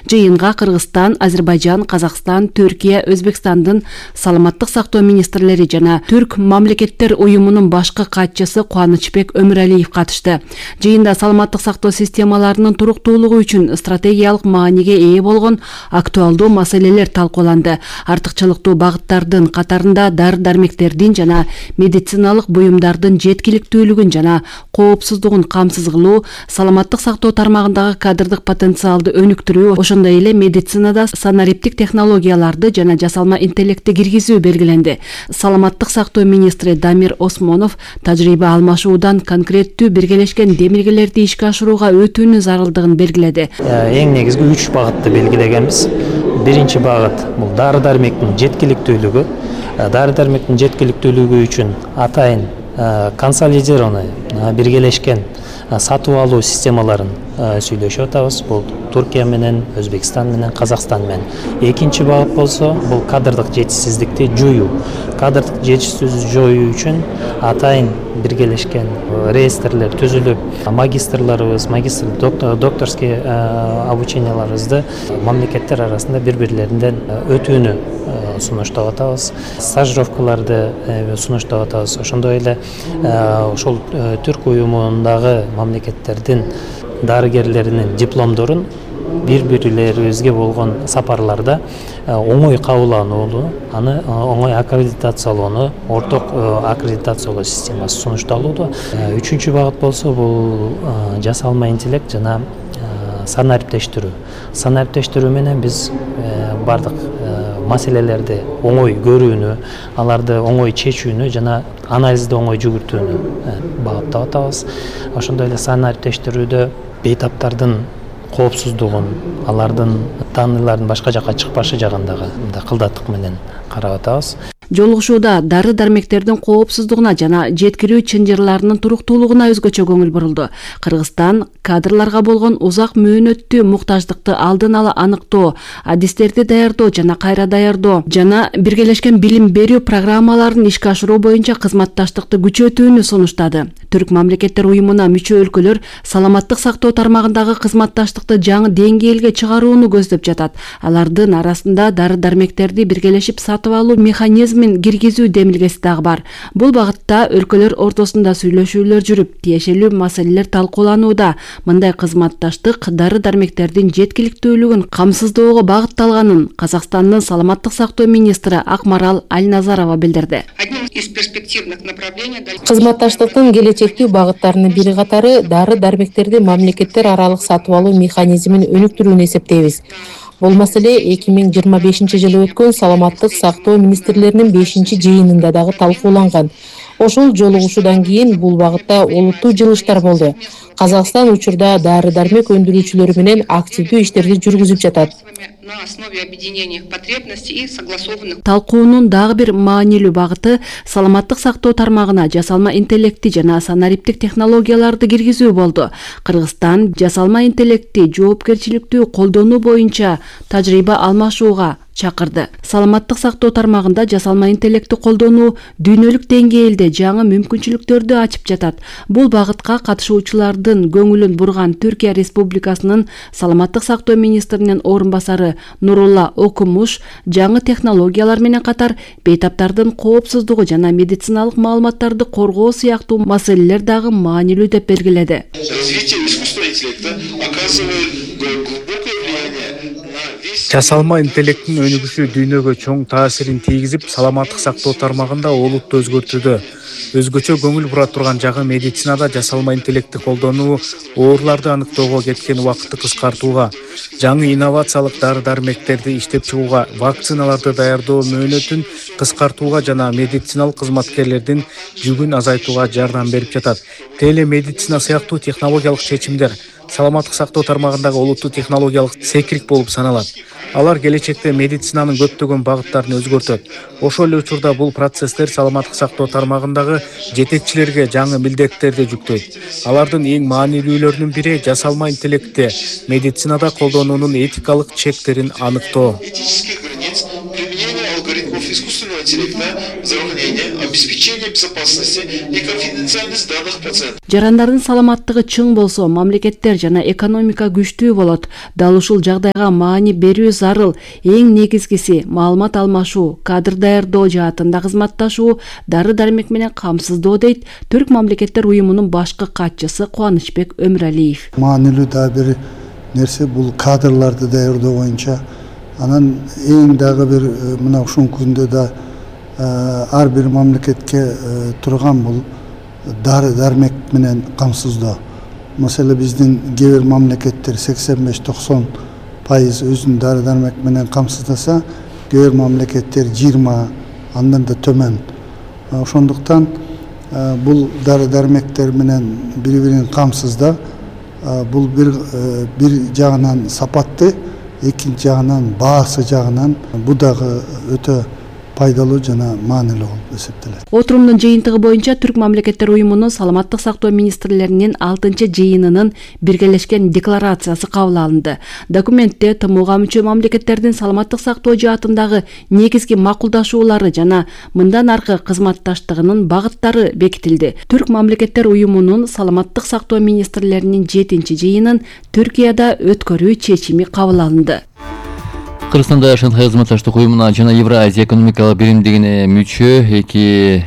Жыйынга Кыргызстан, Азербайжан, Казакстан, Түркия, Өзбекстандын саламаттык сактоо министрлери жана Түрк мамлекеттер уюмунун башкы катчысы Кубанычбек Өмүралиев катышты. Жыйында саламаттык сактоо системаларынын туруктуулугу үчүн стратегиялык мааниге ээ болгон актуалдуу маселелер талкууланды. Артыкчылыктуу багыттардын катарында дары-дармектердин жана медициналык буюмдардын жеткиликтүүлүгүн жана коопсуздугун камсыз кылуу, саламаттык сактоо тармагындагы кадрдык потенциалды өнүктүрүү, ошондой эле медицинада санариптик технологияларды жана жасалма интеллектти киргизүү белгиленди. Саламаттык сактоо министри Дамир Осмонов тажрыйба алмашуудан конкреттүү биргелешкен демилгелерди ишке ашырууга өтүүнүн зарылдыгын белгиледи. Эң негизги 3 багытты белгилегенбиз. Биринчи багыт бул дары-дармектин жеткиликтүүлүгү. Дары-дармектин жеткиликтүүлүгү үчүн атайын консолидированный биргелешкен сатып алуу системаларын сүйлөшүп атабыз. Бул Түркия менен, Өзбекстан менен, Казакстан менен. Экинчи багыт болсо, бул кадрдык жетишсиздикти жоюу. Кадрдык жетишсиздикти жоюу үчүн атайын биргелешкен реестрлер түзүлүп, магистрларыбыз, докторский обученияларыбызды мамлекеттер арасында бири-бирлеринен өтүүнү сунуштап атабыз. Стажировкаларды сунуштап атабыз. Ошондой эле ошол Түрк уюмундагы мамлекеттердин дарыгерлеринин дипломдорун бири-бирлерибизге болгон сапарларда оңой кабылданууну, аны оңой аккредитациялоону, орток аккредитациялоо системасы сунушталууда. Үчүнчү багыт болсо, бул жасалма интеллект жана санариптештирүү. Санариптештирүү менен биз бардык маселелерди оңой көрүүнү, аларды оңой чечүүнү жана анализди оңой жүгүртүүнү багыттап атабыз. Ошондой эле санариптештирүүдө бейтаптардын коопсуздугун, алардын таанылардын башка жакка чыкпашы жагындагы кылдаттык менен карап атабыз. Жолугушууда дары-дармектердин коопсуздугуна жана жеткирүү чынжырларынын туруктуулугуна өзгөчө көңүл бурулду. Кыргызстан кадрларга болгон узак мөөнөттүү муктаждыкты алдын ала аныктоо, адистерди даярдоо жана кайра даярдоо жана биргелешкен билим берүү программаларын ишке ашыруу боюнча кызматташтыкты күчөтүүнү сунуштады. Түрк мамлекеттер уюмуна мүчө өлкөлөр саламаттык сактоо тармагындагы кызматташтыкты жаңы деңгээлге чыгарууну көздөп жатат. Алардын арасында дары-дармектерди биргелешип сатып алуу механизмин киргизүү демилгеси дагы бар. Бул багытта өлкөлөр ортосунда сүйлөшүүлөр жүрүп, тиешелүү маселелер талкууланууда. Мындай кызматташтык дары-дармектердин жеткиликтүүлүгүн камсыздоого багытталганын Казакстандын саламаттык сактоо министри Акмарал Альназарова билдирди. Кызматташтыктын келечектүү багыттарынын бири катары дары-дармектерди мамлекеттер аралык сатып алуу механизмин өнүктүрүүнү эсептейбиз. Бул маселе 2025 жылы өткөн саламаттык сактоо министрлеринин 5-жыйынында дагы талкууланган. Ошол жолугушуудан кийин бул багытта олуттуу жылыштар болду. Казакстан учурда дары-дармек өндүрүүчүлөр менен активдүү иштерди жүргүзүп жатат. Талкуунун дагы бир маанилүү багыты саламаттык сактоо тармагына жасалма интеллектти жана санариптик технологияларды киргизүү болду. Кыргызстан жасалма интеллектти жоопкерчиликтүү колдонуу боюнча тажрыйба алмашууга чакырды. Саламаттык сактоо тармагында жасалма интеллектти колдонуу дүйнөлүк деңгээлде жаңы мүмкүнчүлүктөрдү ачып жатат. Бул багытка катышуучулардын көңүлүн бурган Түркия Республикасынын саламаттык сактоо министринин орун басары Нурулла Окумуш жаңы технологиялар менен катар бейтаптардын коопсуздугу жана медициналык маалыматтарды коргоо сыяктуу маселелер дагы маанилүү деп белгиледи. Развитие искусственного интеллекта оказывает глубокое влияние на весь... Жасалма интеллекттин өнүгүшү дүйнөгө чоң таасирин тийгизип, саламаттык сактоо тармагында олуттуу өзгөртүүдө. Өзгөчө көңүл бура турган жагы медицинада жасалма интеллектти колдонуу ооруларды аныктоого кеткен убакытты кыскартууга, жаңы инновациялык дары-дармектерди иштеп чыгууга, вакциналарды даярдоо мөөнөтүн кыскартууга жана медициналык кызматкерлердин жүгүн азайтууга жардам берип жатат. Телемедицина сыяктуу технологиялык чечимдер саламаттык сактоо тармагындагы олуттуу технологиялык секирик болуп саналат. Алар келечекте медицинанын көптөгөн багыттарын өзгөртөт. Ошол эле учурда бул процесстер саламаттык сактоо тармагындагы жетекчилерге жаңы милдеттерди жүктөйт. Алардын эң маанилүүлөрүнүн бири жасалма интеллектти медицинада колдонуунун этикалык чектерин аныктоо. разработчиков искусственного интеллекта, здравоохранения, обеспечения безопасности и конфиденциальность данных пациентов. Жарандардын саламаттыгы чың болсо, мамлекеттер жана экономика күчтүү болот. Дал ушул жагдайга маани берүү зарыл. Эң негизгиси маалымат алмашуу, кадр даярдоо жаатында кызматташуу, дары-дармек менен камсыздоо дейт Түрк мамлекеттер уюмунун башкы катчысы Кубанычбек Өмүралиев. Маанилүү да бир нерсе бул кадрларды даярдоо боюнча. Анан эң дагы бир мына ушул күндө да ар бир мамлекетке турган бул дары-дармек менен камсыздоо. Маселе биздин кээ бир мамлекеттер 85-90% өзүн дары-дармек менен камсыздаса, кээ бир мамлекеттер 20, андан да төмөн. Ошондуктан бул дары-дармектер менен бири-бирин камсызда бул бир жагынан сапатты, экинчи жагынан баасы жагынан бул дагы өтө пайдалуу жана маанилүү болуп эсептелет. Отурумдун жыйынтыгы боюнча Түрк мамлекеттер уюмунун саламаттык сактоо министрлеринин 6-жыйынынын биргелешкен декларациясы кабыл алынды. Документте ТМОга мүчө мамлекеттердин саламаттык сактоо жаатындагы негизги макулдашуулары жана мындан аркы кызматташтыгынын багыттары бекитилди. Түрк мамлекеттер уюмунун саламаттык сактоо министрлеринин 7-жыйынын Түркияда өткөрүү чечими кабыл алынды. Кыргызстанда Шанхай кызматташтык уюмуна жана Евразия экономикалык биримдигине мүчө эки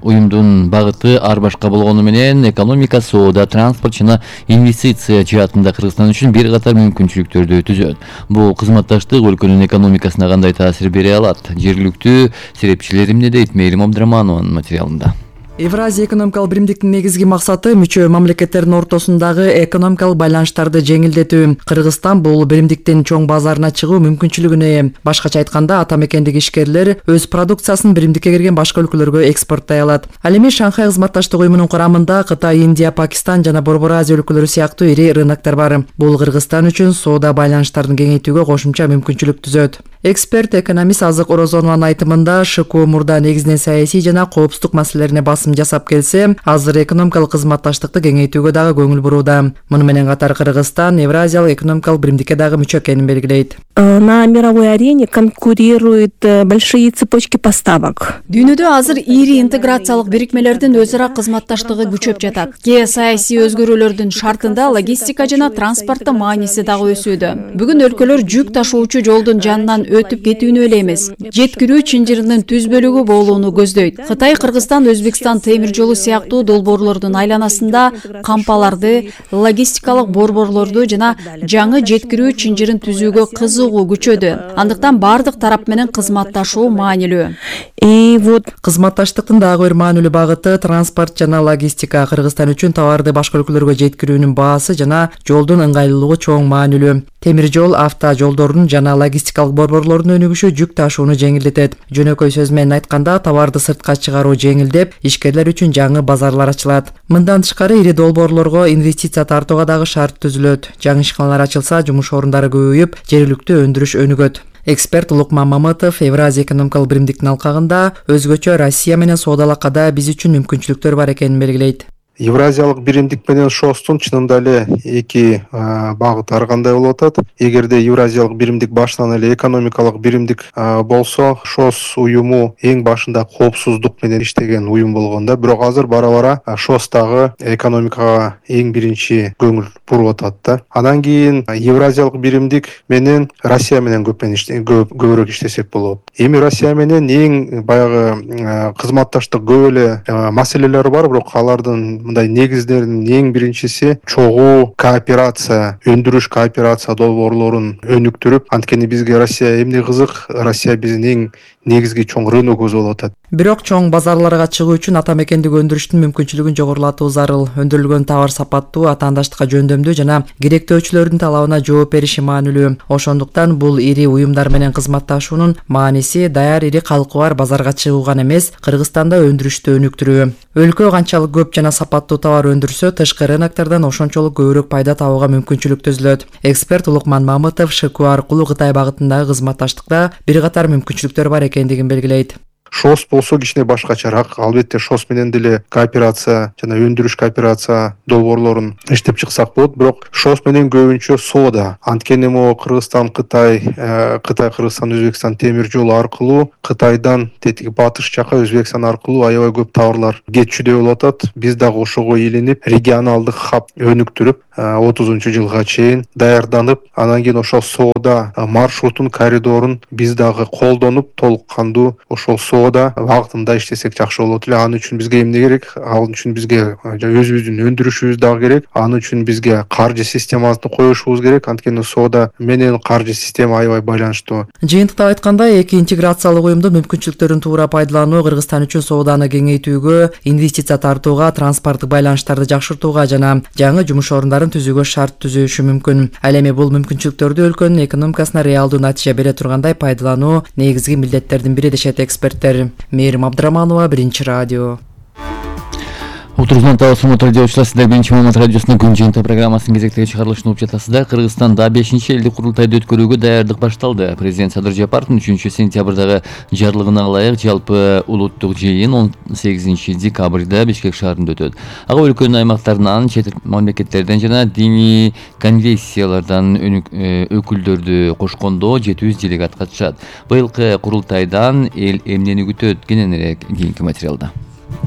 уюмдун багыты ар башка болгону менен экономика, соода, транспорт жана инвестиция жаатында Кыргызстан үчүн бир катар мүмкүнчүлүктөрдү түзөт. Бул кызматташтык өлкөнүн экономикасына кандай таасир бере алат? Жергиликтүү серепчилер эмне дейт? Мээрим Абдыраманованын материалында. Евразия экономикалык биримдиктин негизги максаты мүчө мамлекеттердин ортосундагы экономикалык байланыштарды жеңилдетүү. Кыргызстан бул биримдиктин чоң базарына чыгуу мүмкүнчүлүгүнө ээ. Башкача айтканда, ата мекендеги ишкерлер өз продукциясын биримдикке кирген башка өлкөлөргө экспорттой алат. Ал эми Шанхай кызматташтык уюмунун курамында Кытай, Индия, Пакистан жана Борбор Азия өлкөлөрү сыяктуу ири рыноктор бар. Бул Кыргызстан үчүн соода байланыштарын кеңейтүүгө кошумча мүмкүнчүлүк түзөт. Эксперт, экономист Азык Орозонованын айтымында, ШКУ мурда негизинен саясий жана коопсуздук маселелерине басым жасап келсе, азыр экономикалык кызматташтыкты кеңейтүүгө дагы көңүл бурууда. Муну менен катар Кыргызстан Евразиялык экономикалык биримдикке дагы мүчө экенин белгилейт. На мировой арене конкурируют большие цепочки поставок. Дүйнөдө азыр ири интеграциялык бирикмелердин өз ара кызматташтыгы күчөп жатат. Геосаясий өзгөрүүлөрдүн шартында логистика жана транспорттун мааниси дагы өсүүдө. Бүгүн өлкөлөр жүк ташуучу жолдун жанынан өтүп кетүүнү эле эмес, жеткирүү чынжырынын түз бөлүгү болууну көздөйт. Кытай, Кыргызстан, Өзбекстан темир жолу сыяктуу долбоорлордун айланасында кампаларды, логистикалык борборлорду жана жаңы жеткирүү чынжырын түзүүгө кызыгуу күчөдү. Андыктан бардык тарап менен кызматташуу маанилүү. Кызматташтыктын дагы бир маанилүү багыты транспорт жана логистика. Кыргызстан үчүн товарды башка өлкөлөргө жеткирүүнүн баасы жана жолдун ыңгайлуулугу чоң маанилүү. Темир жол, автожолдордун жана логистикалык борборлордун өнүгүшү жүк ташууну жеңилдетет. Жөнөкөй сөз менен айтканда, товарды сыртка чыгаруу жеңилдеп, ишкерлер үчүн жаңы базарлар ачылат. Мындан тышкары ири долбоорлорго инвестиция тартууга дагы шарт түзүлөт. Жаңы ишканалар ачылса, жумуш орундары көбөйүп, жергиликтүү өндүрүш өнүгөт. Эксперт Лукман Мамытов Евразия экономикалык биримдиктин алкагында өзгөчө Россия менен соодалакада биз үчүн мүмкүнчүлүктөр бар экенин белгилейт. Евразиялык биримдик менен ШОСтун чынында эле эки багыт ар кандай болуп атат. Эгерде Евразиялык биримдик башынан эле экономикалык биримдик болсо, ШОС уюму эң башында коопсуздук менен иштеген уюм болгондо, бирок азыр бара-бара ШОС дагы экономикага эң биринчи көңүл буруп атат да. Андан кийин Евразиялык биримдик менен Россия менен көбүрөөк иштесек болот. Эми Россия менен эң баягы кызматташтык көп эле маселелер бар, бирок алардын мындай негиздеринин эң биринчиси чогуу кооперация, өндүрүш кооперация долбоорлорун өнүктүрүп, анткени бизге Россия эмне кызык, Россия биздин эң негизги чоң рыногубуз болуп атат. Бирок чоң базарларга чыгуу үчүн ата мекендик өндүрүштүн мүмкүнчүлүгүн жогорулатуу зарыл. Өндүрүлгөн товар сапаттуу, атаандаштыкка жөндөмдүү жана керектөөчүлөрдүн талабына жооп бериши маанилүү. Ошондуктан бул ири уюмдар менен кызматташуунун мааниси даяр ири калкы бар базарга чыгуу гана эмес, Кыргызстанда өндүрүштү өнүктүрүү. Өлкө канчалык көп жана сапаттуу товар өндүрсө, тышкы рыноктордон ошончолук көбүрөөк пайда табууга мүмкүнчүлүк түзүлөт. Эксперт Лукман Мамытов ШКУ аркылуу Кытай багытындагы кызматташтыкта бир катар мүмкүнчүлүктөр бар экендигин белгилейт. ШОС болсо кичине башкачараак. Албетте ШОС менен деле кооперация жана өндүрүш кооперация долбоорлорун иштеп чыксак болот. Бирок ШОС менен көбүнчө соода. Анткени могу Кыргызстан, Кытай, Кыргызстан, Өзбекстан темир жолу аркылуу Кытайдан тетиги батыш жака Өзбекстан аркылуу аябай көп товарлар кетчүдөй болуп атат. Биз дагы ошого илинип, регионалдык хаб өнүктүрүп 30-жылга чейин даярданып, анан кийин ошол соода маршрутун, коридорун биз дагы колдонуп, толук кандуу ошол соода багытында иштесек жакшы болот эле. Анын үчүн бизге эмне керек? Ал үчүн бизге өзүбүздүн өндүрүшүбүз дагы керек. Анын үчүн бизге каржы системасын коюшубуз керек. Анткени соода менен каржы система аябай байланыштуу. Жыйынтыкта айтканда, эки интеграциялык уюмдун мүмкүнчүлүктөрүн туура пайдалануу Кыргызстан үчүн сооданы кеңейтүүгө, инвестиция тартууга, транспорттук байланыштарды жакшыртууга жана жаңы жумуш орундарын түзүүгө шарт түзүшү мүмкүн. Ал эми бул мүмкүнчүлүктөрдү өлкөнүн экономикасына реалдуу натыйжа бере тургандай пайдалануу негизги милдеттердин бири дешет эксперттер. Мээрим Абдыраманова, Биринчи радио. Отуруздан талашуу радиочулар, сиздер Биринчи Маалымат радиосунун күн жыйынтыгы программасынын кезектеги чыгарылышын угуп жатасыздар. Кыргызстанда 5-чи элдик курултайды өткөрүүгө даярдык башталды. Президент Садыр Жапаровдун 3-сентябрдагы жарлыгына ылайык жалпы улуттук жыйын 18-декабрда Бишкек шаарында өтөт. Ага өлкөнүн аймактарынан, чет мамлекеттерден жана диний конфессиялардан өкүлдөрдү кошкондо 700 делегат катышат. Быйылкы курултайдан эл эмнени күтөт? Кененирээк кийинки материалда.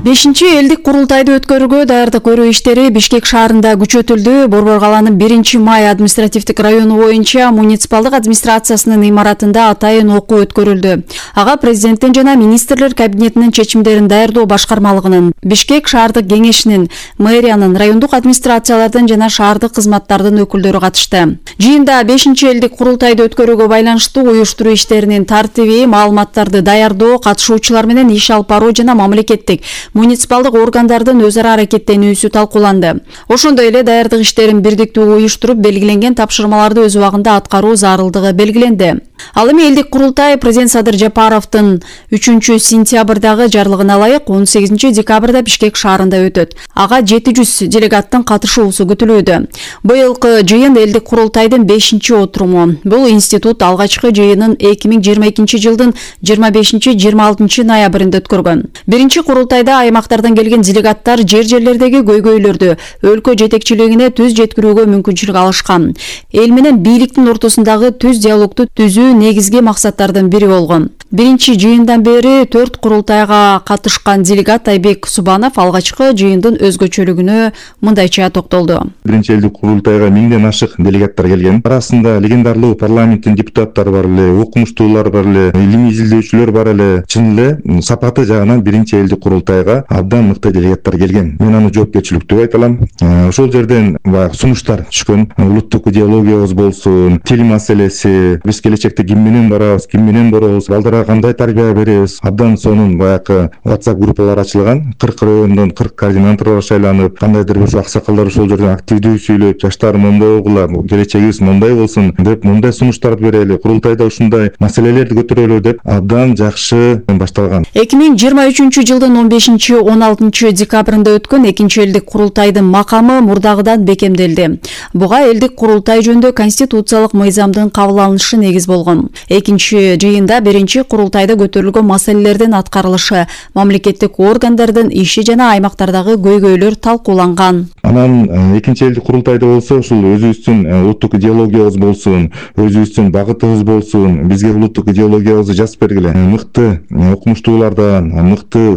5-чи элдик курултайды өткөрүүгө даярдык көрүү иштери Бишкек шаарында күчөтүлдү. Борбор калаанын 1-май административдик району боюнча муниципалдык администрациясынын имаратында атайын окуу өткөрүлдү. Ага президенттин жана министрлер кабинетинин чечимдерин даярдоо башкармалыгынын, Бишкек шаардык кеңешинин, мэриянын, райондук администрациялардын жана шаардык кызматтардын өкүлдөрү катышты. Жыйында 5-чи элдик курултайды өткөрүүгө байланыштуу уюштуруу иштеринин тартиби, маалыматтарды даярдоо, катышуучулар менен иш алып баруу жана мамлекеттик муниципалдык органдардын өз ара аракеттенүүсү талкууланды. Ошондой эле даярдык иштерин бирдиктүү уюштуруп, белгиленген тапшырмаларды өз убагында аткаруу зарылдыгы белгиленди. Ал эми элдик курултай президент Садыр Жапаровдун 3-сентябрдагы жарлыгына ылайык 18-декабрда Бишкек шаарында өтөт. Ага 700 делегаттын катышуусу күтүлүүдө. Быйылкы жыйын элдик курултайдын 5-чи отуруму. Бул институт алгачкы жыйынын 2022-жылдын 25-26 ноябрында өткөргөн. Биринчи курултайда аймактардан келген делегаттар жер-жерлердеги көйгөйлөрдү өлкө жетекчилигине түз жеткирүүгө мүмкүнчүлүк алышкан. Эл менен бийликтин ортосундагы түз диалогду түзүү негизги максаттардын бири болгон. Биринчи жыйындан бери 4 курултайга катышкан делегат Айбек Субанов алгачкы жыйындын өзгөчөлүгүнө мындайча токтолду. Биринчи элдик курултайга 1000ден ашык делегаттар келген. Арасында легендарлуу парламенттин депутаттары бар эле, окумуштуулар бар эле, илимий изилдөөчүлөр бар эле. Чын эле сапаты жагынан биринчи элдик курултайга абдан мыкты делегаттар келген. Мен аны жоопкерчиликтүү айта алам. Ошол жерден сунуштар түшкөн. Улуттук идеологиябыз болсун, тил маселеси, биз келечекте ким менен барабыз, ким менен боробуз, балдарга кандай тарбия беребиз. Абдан сонун баягы WhatsApp группалар ачылган. 40 райондон 40 координаторлор шайланып, кандайдыр бир аксакалдар ошол жерден активдүү сүйлөп, жаштар моундай болгула, келечегибиз моундай болсун деп, мындай сунуштарды берели, курултайда ушундай маселелерди көтөрөлү деп абдан жакшы башталган. 2023-жылдын 15-16 декабрында өткөн 2-чи элдик курултайдын макамы мурдагыдан бекемделди. Буга элдик курултай жөнүндө конституциялык мыйзамдын кабыл алынышы негиз болгон. 2-чи жыйында 1-чи курултайда көтөрүлгөн маселелердин аткарылышы, мамлекеттик органдардын иши жана аймактардагы көйгөйлөр талкууланган. Анан 2-чи элдик курултайда болсо ушул өзүбүздүн улуттук идеологиябыз болсун, өзүбүздүн багытыбыз болсун, бизге улуттук идеологиябызды жазып бергиле. Мыкты окумуштуулардан, мыкты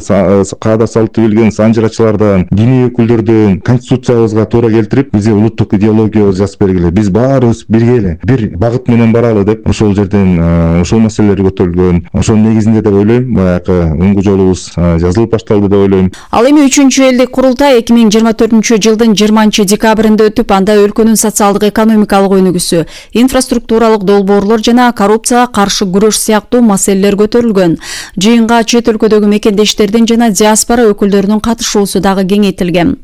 каада салтты билген санжырачылардан, диний өкүлдөрдөн конституциябызга туура келтирип, бизге улуттук идеологиябызды жазып бергиле. Биз баарыбыз бирге эле бир багыт менен баралы деп ошол жерден ошол маселелер көтөрүлгөн. Ошол негизинде деп ойлойм, баягы оңгу жолубуз жазылып башталды деп ойлойм. Ал эми 3-чү элдик курултай 2024-жылдын 20-декабрында өтүп, анда өлкөнүн социалдык экономикалык өнүгүүсү, инфраструктуралык долбоорлор жана коррупцияга каршы күрөш сыяктуу маселелер көтөрүлгөн. Жыйынга чет өлкөдөгү мекендештердин жана диаспора өкүлдөрүнүн катышуусу дагы кеңейтилген.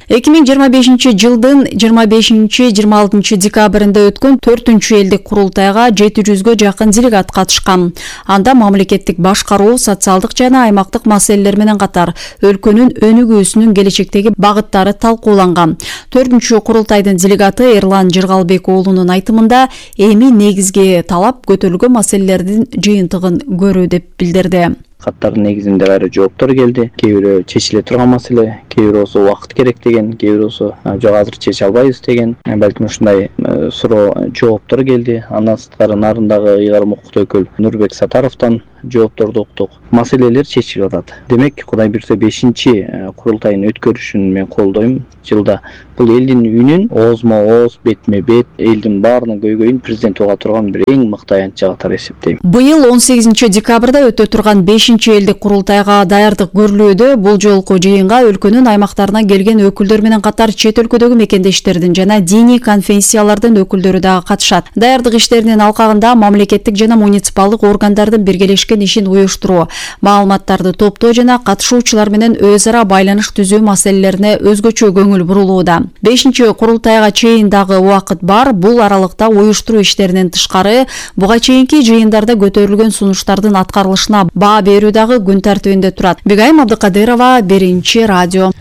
2025-жылдын 25-26 декабрында өткөн 4-чү элдик курултайга 700гө жакын делегат катышкан. Анда мамлекеттик башкаруу, социалдык жана аймактык маселелер менен катар өлкөнүн өнүгүүсүнүн келечектеги багыттары талкууланган. 4-чү курултайдын делегаты Эрлан Жыргалбек уулунун айтымында эми негизги талап көтөрүлгөн маселелердин жыйынтыгын көрүү деп билдирди. каттардын негизинде кайра жооптор келди. Кээ бирөө чечиле турган маселе, кээ бирөөсү убакыт керек деген, кээ бирөөсү жок азыр чече албайбыз деген. Балким ушундай суроо жооптор келди. Андан сырткары нарындагы ыйгарым укуктуу өкүл Нурбек Сатаровдон жоопторду уктук. Маселелер чечилип атат. Демек, Кудай буйрса 5-чи курултайын өткөрүшүн мен колдойм. Жылда бул элдин үнүн оозмо-ооз, бетме-бет, элдин баарынын көйгөйүн президент уга турган бир эң мыкты аянтча катары эсептейм. Быйыл 18 декабрда өтө турган 5-чи элдик курултайга даярдык көрүлүүдө. Бул жолку жыйынга өлкөнүн аймактарынан келген өкүлдөр менен катар чет өлкөдөгү мекендештердин жана диний конфессиялардын өкүлдөрү дагы катышат. Даярдык иштеринин алкагында мамлекеттик жана муниципалдык органдардын биргелешкен ишин уюштуруу, маалыматтарды топтоо жана катышуучулар менен өз ара байланыш түзүү маселелерине өзгөчө көңүл бурулууда. 5-чи курултайга чейин дагы убакыт бар. Бул аралыкта уюштуруу иштеринен тышкары буга чейинки жыйындарда көтөрүлгөн сунуштардын аткарылышына баа берүү дагы күн тартибинде турат. Бегайым Абдыкадырова, 1-чи радио.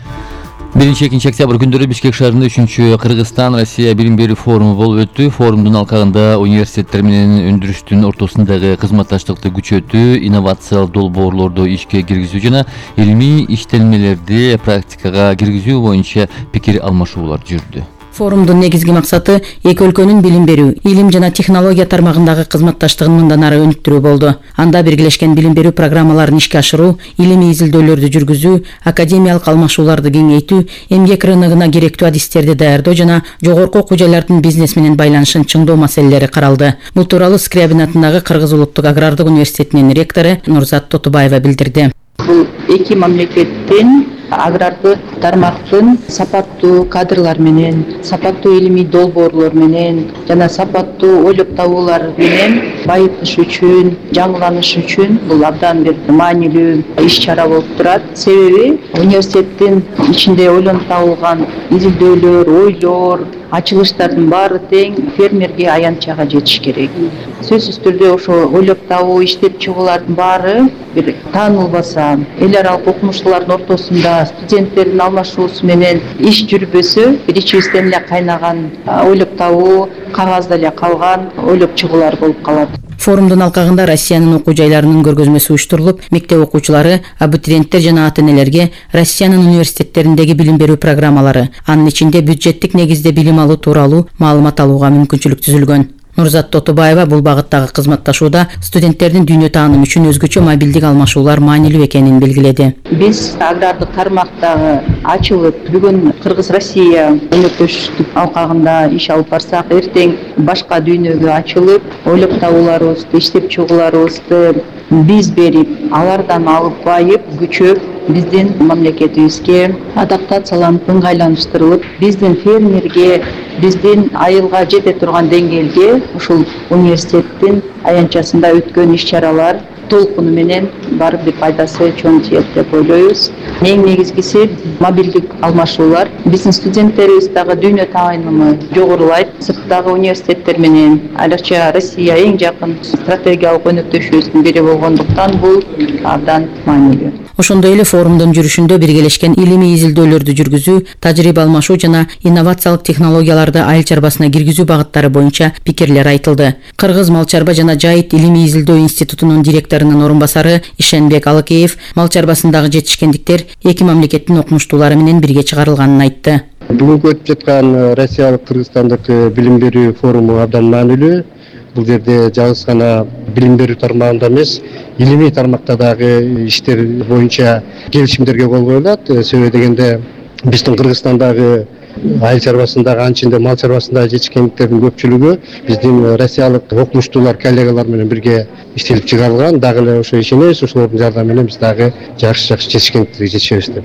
1-2 октябрь күндөрү Бишкек шаарында 3-чү Кыргызстан-Россия билим берүү форуму болуп өттү. Форумдун алкагында университеттер менен өндүрүштүн ортосундагы кызматташтыкты күчөтүү, инновациялык долбоорлорду ишке киргизүү жана илимий иштелмелерди практикага киргизүү боюнча пикир алмашуулар жүрдү. Форумдун негизги максаты эки өлкөнүн билим берүү, илим жана технология тармагындагы кызматташтыгын мындан ары өнүктүрүү болду. Анда биргелешкен билим берүү программаларын ишке ашыруу, илимий изилдөөлөрдү жүргүзүү, академиялык алмашууларды кеңейтүү, эмгек рыногуна керектүү адистерди даярдоо жана жогорку окуу жайлардын бизнес менен байланышын чыңдоо маселелери каралды. Бул тууралуу Скрябин атындагы Кыргыз улуттук агрардык университетинин ректору Нурзат Тотубаева билдирди. Бул эки мамлекеттин агрардык тармактын сапаттуу кадрлар менен, сапаттуу илимий долбоорлор менен жана сапаттуу ойлоп табуулар менен байытыш үчүн, жаңыланыш үчүн бул абдан бир маанилүү иш-чара болуп турат. Себеби университеттин ичинде ойлонуп табылган изилдөөлөр, ойлор, ачылыштардын баары тең фермерге аянтчага жетиш керек. Сөзсүз түрдө ошо ойлоп табуу, иштеп чыгуулардын баары бир таанылбаса, эл аралык окумуштуулардын ортосунда студенттердин алмашуусу менен иш жүрбөсө, бир ичибизден эле кайнаган ойлоп табуу, кагазда эле калган ойлоп чыгуулар болуп калат. Форумдун алкагында Россиянын окуу жайларынын көргөзмөсү уюштурулуп, мектеп окуучулары, абитуриенттер жана ата-энелерге Россиянын университеттериндеги билим берүү программалары, анын ичинде бюджеттик негизде билим алуу тууралуу маалымат алууга мүмкүнчүлүк түзүлгөн. Нурзат Тотубаева бул багыттагы кызматташууда студенттердин дүйнө таанымы үчүн өзгөчө мобилдик алмашуулар маанилүү экенин белгиледи. Биз агрардык тармактагы ачылып, бүгүн Кыргыз-Россия өнөктөштүк алкагында иш алып барсак, эртең башка дүйнөгө ачылып, ойлоп табууларыбызды, иштеп чыгууларыбызды биз берип, алардан алып байып, күчөп, биздин мамлекетибизге адаптацияланып, ыңгайланыштырылып, биздин фермерге, биздин айылга жете турган деңгээлге ушул университеттин аянтчасында өткөн иш-чаралар толкуну менен барып бир пайдасы чоң тиет деп ойлойбуз. Эң негизгиси мобилдик алмашуулар. Биздин студенттерибиз дагы дүйнө таанымы жогорулайт. Сырттагы университеттер менен, айрыкча Россия эң жакын стратегиялык өнөктөшүбүздүн бири болгондуктан бул абдан маанилүү. Ошондой эле форумдун жүрүшүндө биргелешкен илимий изилдөөлөрдү жүргүзүү, тажрыйба алмашуу жана инновациялык технологияларды айыл чарбасына киргизүү багыттары боюнча пикирлер айтылды. Кыргыз мал чарба жана жайыт илимий изилдөө институтунун директорунун орун басары Ишенбек Алыкеев мал чарбасындагы жетишкендиктер эки мамлекеттин окумуштуулары менен бирге чыгарылганын айтты. Бүгүнкү өтүп жаткан Россиялык Кыргызстандык билим берүү форуму абдан маанилүү. Бул жерде жалгыз гана билим берүү тармагында эмес, илимий тармакта дагы иштер боюнча келишимдерге кол коюлат. Себеби дегенде биздин Кыргызстандагы айыл чарбасындагы, анчында мал чарбасындагы жетишкендиктердин көпчүлүгү биздин россиялык окумуштуулар, коллегалар менен бирге иштелип чыгарылган. Дагы эле ошо ишенебиз, ошолордун жардамы менен биз дагы жакшы жетишкендиктерге жетишебиз деп.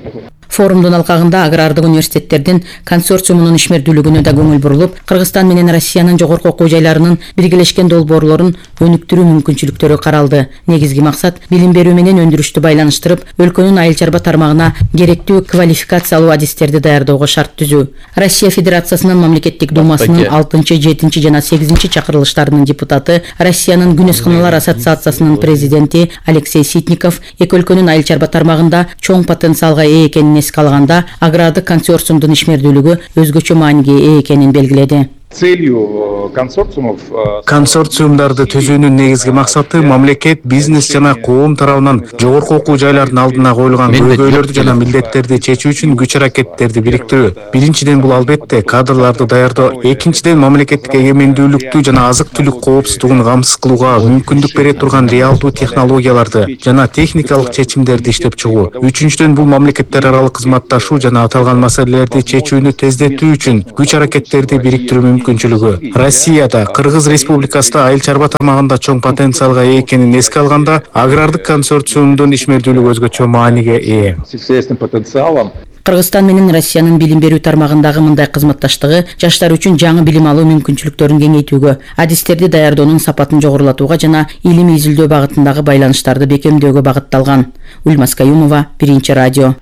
Форумдун алкагында агрардык университеттердин консорциумунун ишмердүүлүгүнө да көңүл бурулуп, Кыргызстан менен Россиянын жогорку окуу жайларынын биргелешкен долбоорлорун өнүктүрүү мүмкүнчүлүктөрү каралды. Негизги максат билим берүү менен өндүрүштү байланыштырып, өлкөнүн айыл чарба тармагына керектүү квалификациялуу адистерди даярдоого шарт түзүү. Россия Федерациясынын мамлекеттик думасынын 6-чы, 7-чи жана 8-чи чакырылыштарынын депутаты, Россиянын Күнөсканалар ассоциациясынын президенти Алексей Ситников эки өлкөнүн айыл чарба тармагында чоң потенциалга ээ экенин эске алганда, агрардык консорциумдун ишмердүүлүгү өзгөчө мааниге ээ экенин белгиледи. Целью консорциумов консорциумдарды түзүүнүн негизги максаты мамлекет, бизнес жана коом тарабынан жогорку окуу жайлардын алдына коюлган көйгөйлөрдү жана милдеттерди чечүү үчүн күч аракеттерди бириктирүү. Биринчиден бул албетте кадрларды даярдоо, экинчиден мамлекеттик эгемендүүлүктү жана азык-түлүк коопсуздугун камсыз кылууга мүмкүндүк бере турган реалдуу технологияларды жана техникалык чечимдерди иштеп чыгуу. Үчүнчүдөн бул мамлекеттер аралык кызматташуу жана аталган маселелерди чечүүнү тездетүү үчүн күч аракеттерди бириктирүү мүмкүнчүлүгү. Россияда, Кыргыз Республикасында айыл чарба тармагында чоң потенциалга ээ экенин эске алганда, агрардык консорциумдун ишмердүүлүгү өзгөчө мааниге ээ. Сельскохозяйственным потенциалом Кыргызстан менен Россиянын билим берүү тармагындагы мындай кызматташтыгы жаштар үчүн жаңы билим алуу мүмкүнчүлүктөрүн кеңейтүүгө, адистерди даярдоонун сапатын жогорулатууга жана илимий изилдөө багытындагы байланыштарды бекемдөөгө багытталган. Ульмас Каюмова, Биринчи радио.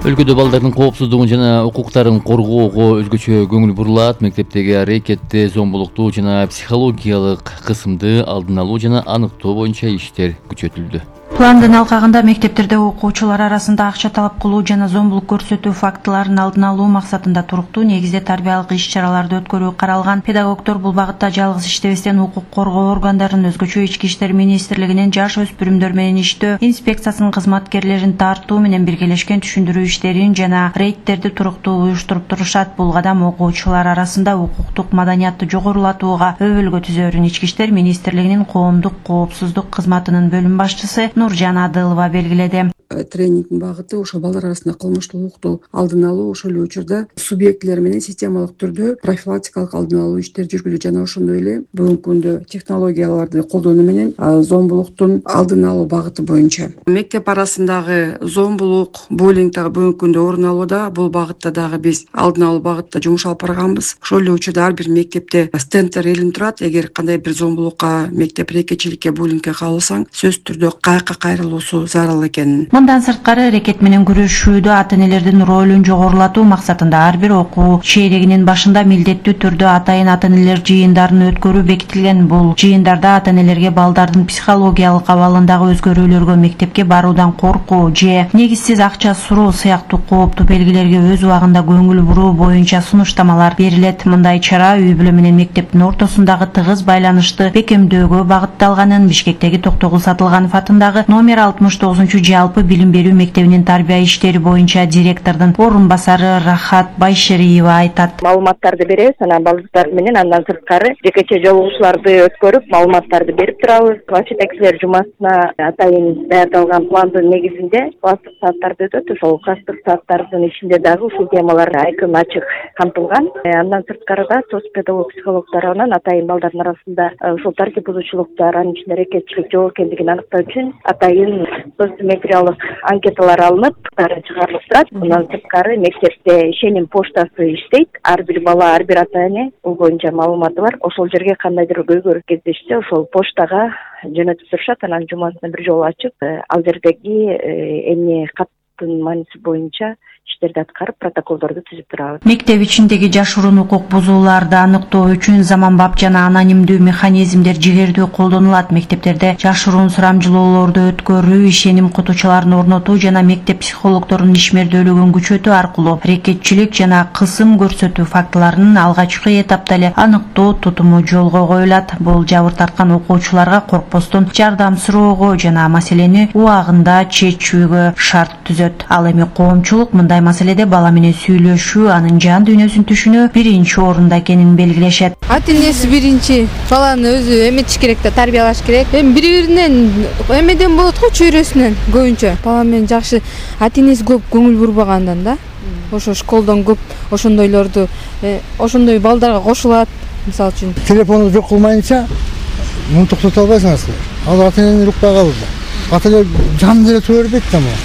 Өлкөдө балдардын коопсуздугун жана укуктарын коргоого өзгөчө көңүл бурулат. Мектептеги аракетти, зомбулукту жана психологиялык кысымды алдын алуу жана аныктоо боюнча иштер күчөтүлдү. Пландын алкагында мектептерде окуучулар арасында акча талап кылуу жана зомбулук көрсөтүү фактыларын алдын алуу максатында туруктуу негизде тарбиялык иш-чараларды өткөрүү каралган. Педагогдор бул багытта жалгыз иштебестен укук коргоо органдарын, өзгөчө Ички иштер министрлигинин жаш өспүрүмдөр менен иштөө инспекциясынын кызматкерлерин тартуу менен биргелешкен түшүндүрүү иштерин жана рейдтерди туруктуу уюштуруп турушат. Бул кадам окуучулар арасында укуктук маданиятты жогорулатууга өбөлгө түзөөрүн Ички иштер министрлигинин коомдук коопсуздук кызматынын бөлүм башчысы Нуржан Адылова белгиледи. Тренингдин багыты ошо балдар арасында кылмыштуулукту алдын алуу, ошол эле учурда субъектилер менен системалык түрдө профилактикалык алдын алуу иштери жүргүзүлөт жана ошондой эле бүгүнкү күндө технологияларды колдонуу менен зомбулуктун алдын алуу багыты боюнча. Мектеп арасындагы зомбулук, буллинг дагы бүгүнкү күндө орун алууда. Бул багытта дагы биз алдын алуу багытта жумуш алып барганбыз. Ошол эле учурда ар бир мектепте стендтер илинип турат. Эгер кандай бир зомбулукка, мектеп рекетчиликке, буллингке кабылсаң, сөзсүз түрдө кайакка кайрылуусу зарыл экенин. Мындан сырткары рекет менен күрөшүүдө ата-энелердин ролун жогорулатуу максатында ар бир окуу чейрегинин башында милдеттүү түрдө атайын ата-энелер жыйындарын өткөрүү бекитилген. Бул жыйындарда ата-энелерге балдардын психологиялык абалындагы өзгөрүүлөргө, мектепке баруудан коркуу же негизсиз акча суроо сыяктуу кооптуу белгилерге өз убагында көңүл буруу боюнча сунуштамалар берилет. Мындай чара үй бүлө менен мектептин ортосундагы тыгыз байланышты бекемдөөгө багытталганын Бишкектеги Токтогул Сатылганов атындагы номер 69 жалпы билим берүү мектебинин тарбия иштери боюнча директордун орун басары Рахат Байшериева айтат. Маалыматтарды беребиз, анан балдар менен андан сырткары жекече жолугушууларды өткөрүп, маалыматтарды берип турабыз. Жетекчилер жумасына атайын даярдалган пландын негизинде класстык сааттарды өтөт. Ошол класстык сааттардын ичинде дагы ушул темалар айкын ачык камтылган. Андан сырткары да соц педагог психолог тарабынан атайын балдардын арасында ушул тартип бузуучулуктар, анын ичинде рекетчилик жок экендигин аныктоо үчүн атайын соцметриялык анкеталар алынып, чыгарылып турат. Андан сырткары мектепте ишеним поштасы иштейт. Ар бир бала, ар бир ата-эне бул боюнча маалыматы бар. Ошол жерге кандайдыр көйгөй кездешсе, ошол поштага жөнөтүп турушат. Анан жумасына бир жолу ачып, ал жердеги эмне каттын мааниси боюнча иштерди аткарып, протоколдорду түзүп турабыз. Мектеп ичиндеги жашыруун укук бузууларды аныктоо үчүн заманбап жана анонимдүү механизмдер жигердүү колдонулат. Мектептерде жашыруун сурамжылоолорду өткөрүү, ишеним кутуучуларын орнотуу жана мектеп психологдорунун ишмердүүлүгүн күчөтүү аркылуу рекетчилик жана кысым көрсөтүү фактыларын алгачкы этапта эле аныктоо тутуму жолго коюлат. Бул жабыр тарткан окуучуларга коркпостон жардам суроого жана маселени убагында чечүүгө шарт түзөт. Ал эми коомчулук мындай маселеде бала менен сүйлөшүү, анын жан дүйнөсүн түшүнүү биринчи орунда экенин белгилешет. Ата-энеси биринчи баланы өзү эметиш керек да, тарбиялаш керек. Эми бири-биринен эмеден болот го, чөйрөсүнөн көбүнчө. Бала менен жакшы ата-энеси көп көңүл бурбагандан да. Ошо школдон көп ошондойлорду, ошондой балдарга кошулат. Мисалы үчүн телефонду жок кылмайынча муну токтото албайсыңар. Ал ата-энени укпай калды. Ата-эне жан деле тура бербейт да муну.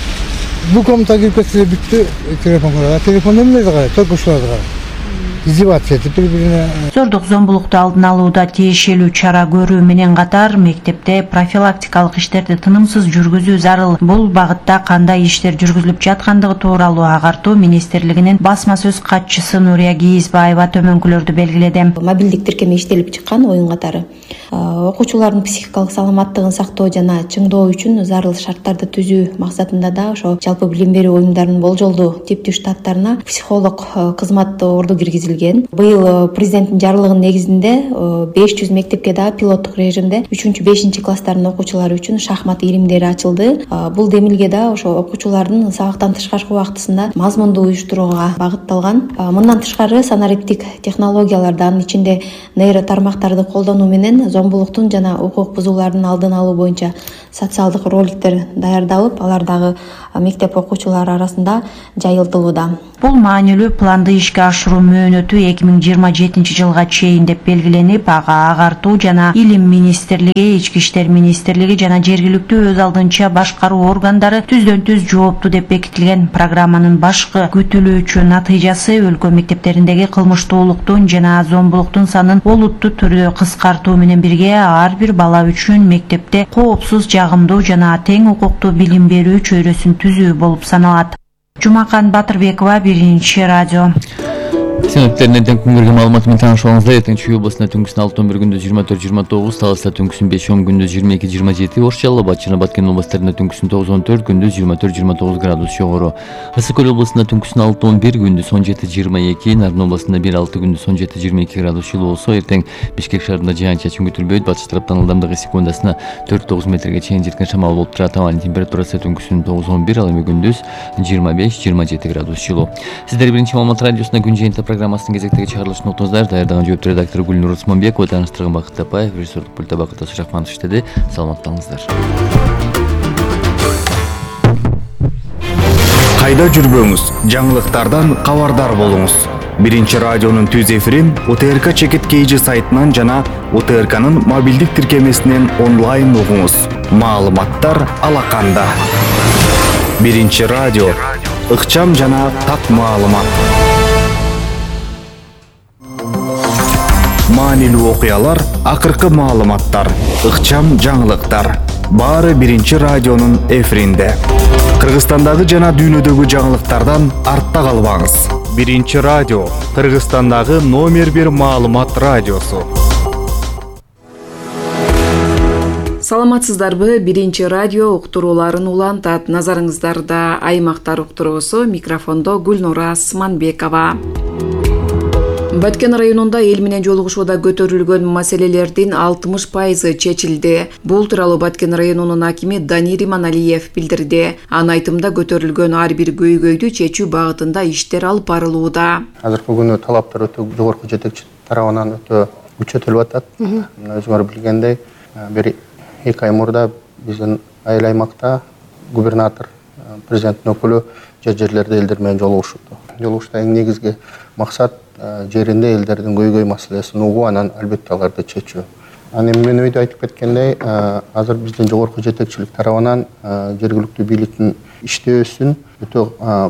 Бул комнатага кирип кетсе бүттү, телефон карайт. Телефон эмнеге карайт? Только ушуларды карайт. Издеваться этип бири-бирине. Зордук зомбулукту алдын алууда тиешелүү чара көрүү менен катар мектепте профилактикалык иштерди тынымсыз жүргүзүү зарыл. Бул багытта кандай иштер жүргүзүлүп жаткандыгы тууралуу агартуу министрлигинин басма сөз катчысы Нурия Кийизбаева төмөнкүлөрдү белгиледи. Мобилдик тиркеме иштелип чыккан оюн катары окуучулардын психикалык саламаттыгын сактоо жана чыңдоо үчүн зарыл шарттарды түзүү максатында да ошо жалпы билим берүү уюмдарынын болжолдуу типтүү штаттарына психолог кызматты орду киргизилет. киргизилген. Быйыл президенттин жарлыгынын негизинде 500 мектепке да пилоттук режимде 3-5 класстардын окуучулары үчүн шахмат илимдери ачылды. Бул демилге да ошо окуучулардын сабактан тышкаркы убактысында мазмундуу уюштурууга багытталган. Мындан тышкары санариптик технологияларды, анын ичинде нейро тармактарды колдонуу менен зомбулуктун жана укук бузуулардын алдын алуу боюнча социалдык роликтер даярдалып, алар дагы мектеп окуучулары арасында жайылтылууда. Бул маанилүү планды ишке ашыруу мөөнөтү 2027 жылга чейин деп белгиленип, ага агартуу жана илим министрлиги, ички иштер министрлиги жана жергиликтүү өз алдынча башкаруу органдары түздөн-түз жооптуу деп бекитилген. Программанын башкы күтүлүүчү натыйжасы өлкө мектептериндеги кылмыштуулуктун жана зомбулуктун санын олуттуу түрдө кыскартуу менен бирге ар бир бала үчүн мектепте коопсуз, жагымдуу жана тең укуктуу билим берүү чөйрөсүн түзүү болуп саналат. Жумакан Батырбекова, Биринчи радио. Синоптиктерден тең күнгөргө маалымат менен таанышып алыңыздар. Эртең Чүй облусунда түнкүсүн 6-11 күндүз 24-29, Таласта түнкүсүн 5-10 күндүз 22-27, Ош Жалал Абад жана Баткен областарында түнкүсүн 9-14 күндүз 24-29 градус жогору. Ысык Көл облусунда түнкүсүн 6-11 күндүз 17-22, Нарын облусунда 1-6 күндүз 17-22 градус жылуу болсо, эртең Бишкек шаарында жаан-чачын күтүлбөйт. Батыш тараптан ылдамдыгы секундасына 4-9 метрге чейин жеткен шамал болуп турат. Абанын температурасы түнкүсүн 9-11, ал эми күндүз 25-27 градус жылуу. Сиздер Биринчи маалымат радиосунда күн жыйынтык программасынын кезектеги чыгарылышын уктуңуздар. Даярдаган жооптуу редактор Гүлнур Усманбекова, тааныштырган Бакыт Тапаев, режиссерлук пультта Бакыт Сырахманов иштеди. Саламаттаңыздар. Кайда жүрбөңүз, жаңылыктардан кабардар болуңуз. Биринчи радионун түз эфирин УТРК Чекит KG сайтынан жана УТРКнын мобилдик тиркемесинен онлайн угуңуз. Маалыматтар алаканда. Биринчи радио, ыкчам жана так маалымат. Маанилүү окуялар, акыркы маалыматтар, ыкчам жаңылыктар. Баары Биринчи радионун эфиринде. Кыргызстандагы жана дүйнөдөгү жаңылыктардан артта калбаңыз. Биринчи радио, Кыргызстандагы номер 1 маалымат радиосу. Саламатсыздарбы? Биринчи радио уктурууларын улантат. Назарыңыздарда аймактар уктуруусу, микрофондо Гүлнура Усманбекова. Баткен районунда эл менен жолугушууда көтөрүлгөн маселелердин 60% чечилди. Бул тууралуу Баткен районунун акими Данир Иманалиев билдирди. Анын айтымында көтөрүлгөн ар бир көйгөйдү чечүү багытында иштер алып барылууда. Азыркы күнү талаптар өтө жогорку жетекчи тарабынан өтө күчөтүлүп атат. Өзүңөр билгендей, бир 2 ай мурда биздин айыл аймакта губернатор, президенттин өкүлү жерлерде элдер менен жолугушууда. Жолугушта эң негизги максат жеринде элдердин көйгөй маселесин угуу, анан албетте аларды чечүү. Аны мен өйдө айтып кеткендей, азыр биздин жогорку жетекчилик тарабынан жергиликтүү бийликтин иштөөсүн өтө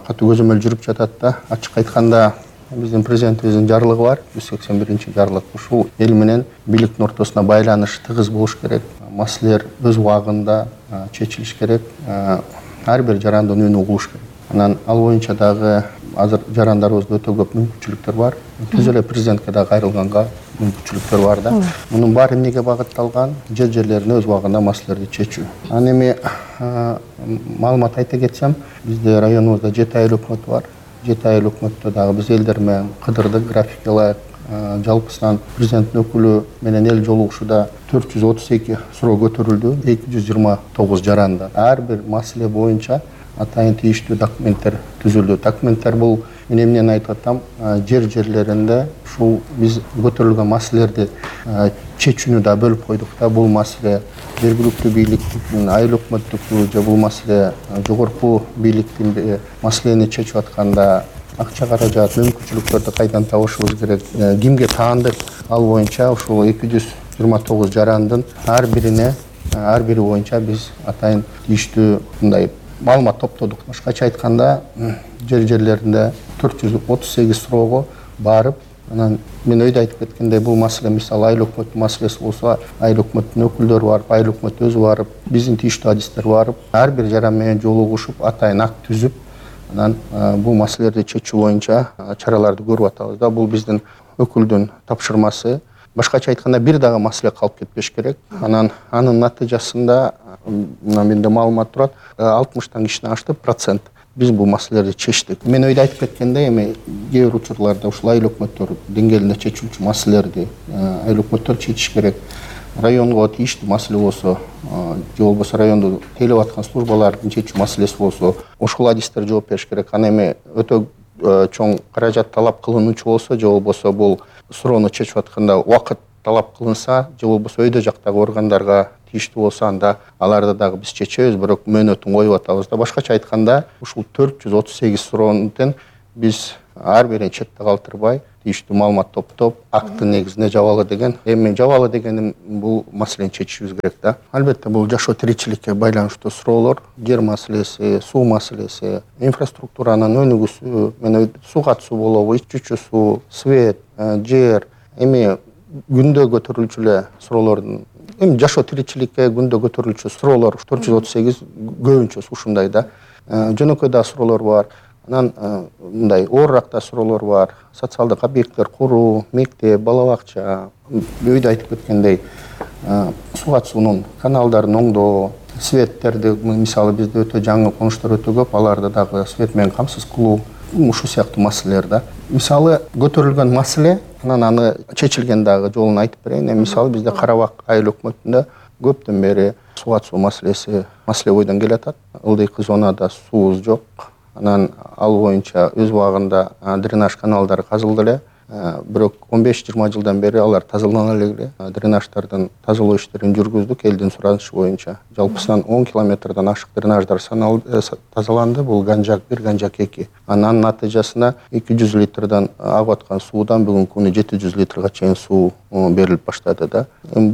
катуу көзөмөл жүрүп жатат да. Ачык айтканда, биздин президентибиздин жарлыгы бар, 181 жарлык. Ушул эл менен бийликтин ортосуна байланыш тыгыз болуш керек. Маселелер өз убагында чечилиш керек. Ар бир жарандын үнү угулуш керек. Анан ал боюнча дагы азыр жарандарыбызда өтө көп мүмкүнчүлүктөр бар. Түз эле президентке да кайрылганга мүмкүнчүлүктөр бар да. Мунун баары эмнеге багытталган? Жерлерин өз убагында маселелерди чечүү. Аны эми маалымат айта кетсем, бизде районубузда 7 айыл өкмөтү бар. 7 айыл өкмөттө дагы биз элдер менен кыдырдык, графикке ылайык. Жалпысынан президенттин өкүлү менен эл жолугушууда 432 суроо көтөрүлдү, 229 жаранды. Ар бир маселе боюнча атайын тийиштүү документтер түзүлдү. Документтер бул мен эмнени айтып атам, жерлеринде ушул биз көтөрүлгөн маселелерди чечүүнү да бөлүп койдук да. Бул маселе жергиликтүү бийликтин, айыл өкмөттүкү же бул маселе жогорку бийликтин маселени чечип атканда акча каражат, мүмкүнчүлүктөрдү кайдан табышыбыз керек, кимге таандык, ал боюнча ушул 229 жарандын ар бири боюнча биз атайын тийиштүү мындай маалымат топтодук. Башкача айтканда, жерлеринде 438 суроого барып, анан мен өйдө айтып кеткендей, бул маселе мисалы айыл өкмөттүн маселеси болсо, айыл өкмөттүн өкүлдөрү барып, айыл өкмөт өзү барып, биздин тийиштүү адистер барып, ар бир жаран менен жолугушуп, атайын акт түзүп, анан бул маселелерди чечүү боюнча чараларды көрүп атабыз да. Бул биздин өкүлдүн тапшырмасы. Башкача айтканда, бир дагы маселе калып кетпеш керек. Анан анын натыйжасында менде маалымат турат, 60 кишиден ашты процент биз бул маселелерди чечтик. Мен өйдө айтып кеткендей, эми кээ бир учурларда ушул айыл өкмөттөр деңгээлинде чечилчү маселелерди айыл өкмөттөр чечиш керек. Районго тийиштүү маселе болсо, же болбосо районду тейлеп аткан службалардын чечүү маселеси болсо, ошол адистер жооп бериш керек. Ана эми өтө чоң каражат талап кылынуучу болсо, же болбосо бул суроону чечип атканда убакыт талап кылынса, же болбосо өйдө жактагы органдарга тийиштүү болсо, анда аларды дагы биз чечебиз, бирок мөөнөтүн коюп атабыз да. Башкача айтканда, ушул 438 суроонун биз ар бирин четте калтырбай, тийиштүү маалымат топтоп, акттын негизинде жабалы деген. Эми жабалы дегеним бул маселени чечишибиз керек да. Албетте бул жашоо тиричиликке байланыштуу суроолор, жер маселеси, суу маселеси, инфраструктуранын өнүгүүсү, менен суу катышуу болобу, ичүүчү суу, свет, жер, эми күндө көтөрүлчү эле суроолордун, эми жашоо тиричиликке күндө көтөрүлчү суроолор 438 көбүнчөсү ушундай да. Жөнөкөй да суроолор бар. Анан мындай оорураак да суроолор бар. Социалдык объекттер куруу, мектеп, бала бакча, өйдө айтып кеткендей, суу катышуунун каналдарын оңдоо, светтерди, мисалы бизде өтө жаңы конуштар өтө көп, аларды дагы свет менен камсыз кылуу, ушул сыяктуу маселелер да. Мисалы көтөрүлгөн маселе, анан аны чечилген дагы жолун айтып берейин. Мисалы бизде Карабак айыл өкмөтүндө көптөн бери суу катышуу маселеси маселе бойдон келатат. Ылдыйкы зонада суубуз жок. Анан ал боюнча өз убагында дренаж каналдары казылды эле. Бирок 15-20 жылдан бери алар тазалана элек. Дренаждардын тазалоо иштерин жүргүздүк элдин суранышы боюнча. Жалпысынан 10 километрден ашык дренаждар тазаланды. Бул Ганжак 1, Ганжак 2. Анын натыйжасында 200 литрден агып аткан суудан бүгүнкү күнү 700 литрге чейин суу берилип баштады да. Эми